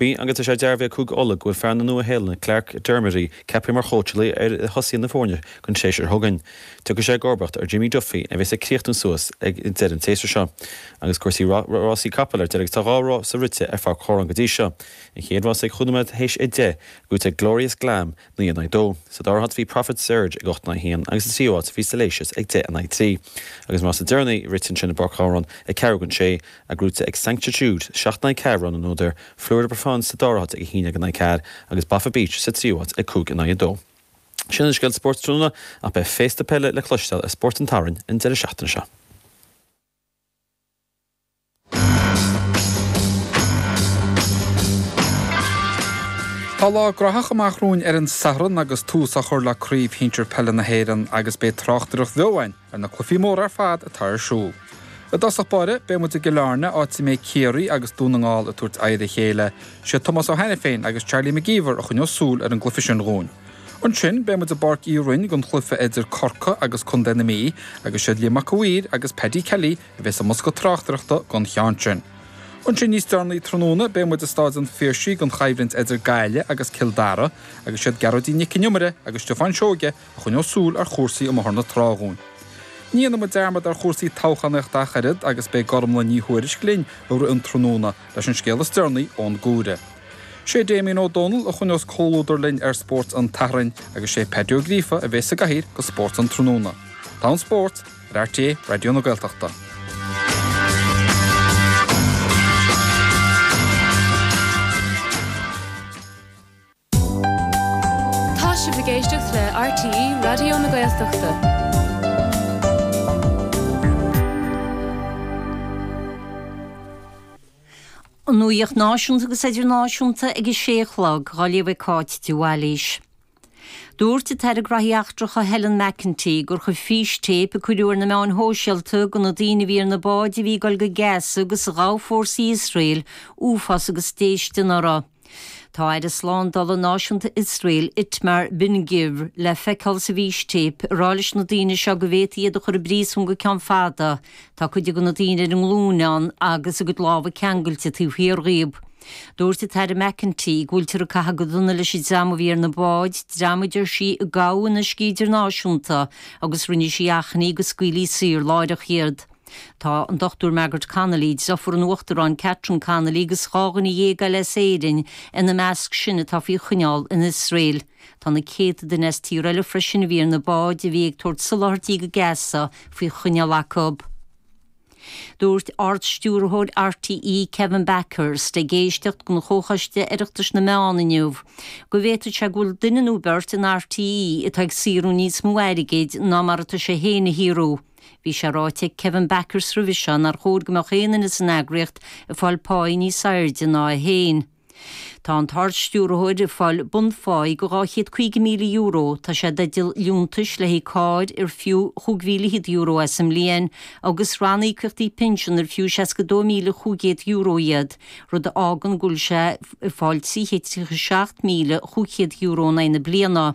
Rugbaí agus tá sé dearbhaithe ag Cúige Uladh go bhfuil fear na Nua-Shéalainne Clarke Dermody ceaptha mar chóitseálaí ar thosaithe na foirne don séasúr seo chugainn. Tiocfaidh sé i gcomharbacht ar Jimmy Duffy a bheas ag críochnú suas ag deireadh an tséasúir seo. Agus cúrsaí rásaí capall ar deireadh agus tá 2 rása rite ar Pháirc Chomhráin go dtí seo. An chéad rása ag chúig nóiméad théis 10, buaite ag Glorious Glam, 9 in aghaidh 2. Sa dara háit bhí Prophet Surge ag 8 in aghaidh 1 agus sa tríú háit bhí Salacious ag 10 in aghaidh 3. Agus an rása deireanaí rite ansin i bPáirc Ghabhráin ag ceathrú don sé, gnóthaithe ag Sanctitude, 7 in aghaidh 4 rogha na n-údar, Fleur de Provence sa dara háit ag 11 in aghaidh 4 agus Boffa Beach sa tríú háit ag 5 in aghaidh 2. Sin an scéal spóirt tráthnóna ach beidh féasta peile le cloisteáil ar Spórt an tSathairn an deireadh seachtaine seo. Tá lá graitheach amach romhainn ar an Satharn agus tús á chur le Craobh Shinsir Peile na hÉireann agus beidh tráchtaireacht bheo againn ar na cluichí móra ar fad atá ar siúl. I dtosach báire, beidh muid i gCill Airne, áit a mbeidh Ciarraí agus Dún na nGall ag tabhairt aghaidh ar a chéile. Sé Tomás Ó hAiniféin agus Charlie McGeever a choinneos súil ar an gcluiche sin dhúinn. Ansin, beidh muid i bPáirc Uí Rinn don chluiche idir Corcaigh agus Contae na Mí agus siad Liam Mac a' Mhaoir agus Paddy Kelly a bheas i mbosca tráchtaireachta don cheann sin. Ansin níos deireanaí tráthnóna beidh muid i Stáid an Phiarsaigh don choimhlint idir Gaillimh agus Cill Dara agus siad Gearóidín Nic Con Iomaire agus Stiofán Seoige a choinneos súil ar chúrsaí amuigh ar na trá dhúinn. Ní dhéanfaidh muid dearmad ar chúrsaí toghchánaíochta ach oiread agus beidh Gormlaith Ní Thuairisg linn i rith an tráthnóna leis an scéal is deireanaí ón gComhaireamh. Sé Damien Ó Dónaill a choinneos comhluadar linn ar Spórt an tSathairn agus sé Paddy Ó Gríofa a bheas sa gcathaoir do Spórt an Tráthnóna. Tá an spórt ar RTÉ Raidió na Gaeltachta. Tá sibh ag éisteacht le RTÉ Raidió na Gaeltachta. An nuacht náisiúnta agus idirnáisiúnta ag a sé a chlog, á léamh ag Cáit de Bhailís. Dúirt an tAire Graithí Eachtracha Helen McEntee gur chuir fístéip a cuireadh ar na meáin shóisialta de na daoine a bhí ar na báid a bhí ag dul go Gaza agus a ghabh fórsaí Iosrael uafás agus déistin orthu. Tá Aire Slándála Náisiúnta Iosrael, Itmar Ben Gvir, le feiceáil sa bhfístéip ag rá leis na daoine seo go bhféadfaí iad a chur i bpríosún go ceann fada. Tá cuid de na daoine ar a nglúine ann agus a gcuid lámha ceangailte taobh thiar dhíob. Dúirt an tAire McEntee go bhfuiltear ag caitheamh go dona leis an dream a bhí ar na báid, dream a deir sí a gabhadh in uiscí idirnáisiúnta agus rinne sí achainí go scaoilfí saor láithreach iad. Tá an Dr Margaret Connolly, deirfiúr an Uachtaráin Catherine Connolly agus 12 dhuine eile as Éirinn ina measc sin atá faoi choinneáil in Iosrael. Tá na céadta duine as tíortha eile freisin a bhí ar na báid a bhí ag tabhairt soláthairtí go Gaza faoi choinneáil acu. Dúirt Ard-Stiúrthóir RTÉ Kevin Bakhurst ag éisteacht don Chomhchoiste Oireachtais na Meán inniu go bhféadfadh sé go bhfuil duine nó beirt in RTÉ atá ag saothrú níos mó airgid ná mar atá sé féin a shaothrú. Bhí sé ráite ag Kevin Bakhurst roimhe seo nár chóir go mbeadh aon duine san eagraíocht ag fáil páí níos airde ná é féin. Tá an tArd-Stiúrthóir ag fáil bunpháí de €250,000, tá sé i dteideal liúntais le haghaidh cairr ar fiú €25,000 é sa mbliain agus ranníocaíochtaí pinsean ar fiú €62,500 iad, rud a fhágann go bhfuil sé ag fáil €337,500 in aghaidh na bliana.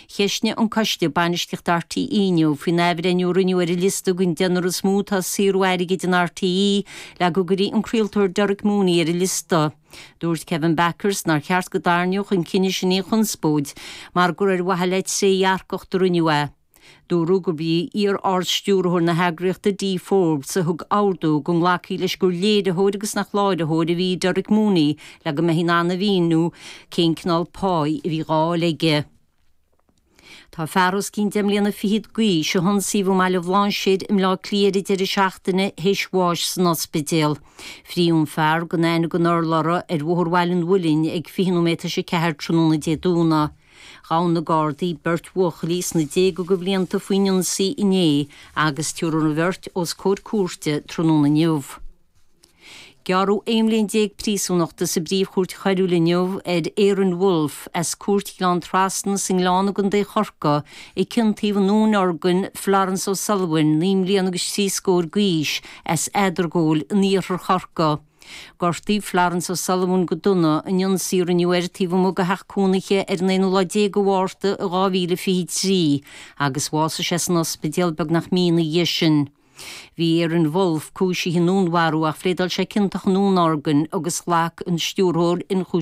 Cheistnigh an Coiste Bainistíochta RTÉ inniu faoin athbhreithniú a rinneadh ar an liosta den deichniúr is mó atá ag saothrú airgid in RTÉ le go gcuirfí an craoltóir Derek Mooney ar an liosta. Dúirt Kevin Bakhurst nár cheart go dtarraingeodh an cinneadh sin aon chonspóid mar gur ar mhaithe le trédhearcacht a rinneadh é. Dúradh gurb í iar-ardstiúrthóir na heagraíochta Dee Forbes a thug ordú go nglacfaí leis gur léiritheoir agus nach láithreoir a bhí i Derek Mooney le go mbeifí in ann a mhíniú cén cineál páí a bhí dhá fháil aige. Tá fear os cionn deich mbliana fichead d'aois a hionsaíodh i mBaile Bhlainséir i mBleá Cliath ar an deireadh seachtaine théis bháis san ospidéal. Frítheadh an fear gan aithne den urlabhra ar Bhóthar Bhaile an Mhuilinn ag 20 nóiméad tar éis a ceathair tráthnóna Dé Domhnaigh. Ghabh na Gardaí beirt bhuachaillí sna déaga de bhlianta faoin ionsaí inné agus tabharfar an bheirt os comhair cúirte tráthnóna inniu. Gearradh 11 bhliain príosúnachta sa bPríomh-Chúirt Choiriúil inniu ar Aaron Wolfe as Cúirt Ghleann Trasna sa nGleann i gContae Chorcaí a ciontaíodh i ndúnorgain Florence O'Sullivan, 9 mbliana agus trí scór d'aois, as Eadargóil in iarthar Chorcaí. Gortaíodh Florence O'Sullivan go dona in ionsaí a rinneadh air taobh amuigh de theach cónaithe ar an aonú lá déag de Mhárta i 2023 agus bhásaigh sé san ospidéal beagnach mí ina dhiaidh sin. Bhí Aaron Wolfe cúisithe i ndúnmharú ach phléadáil sé ciontach i ndúnorgain agus ghlac an Stiúrthóir Ionchúiseamh.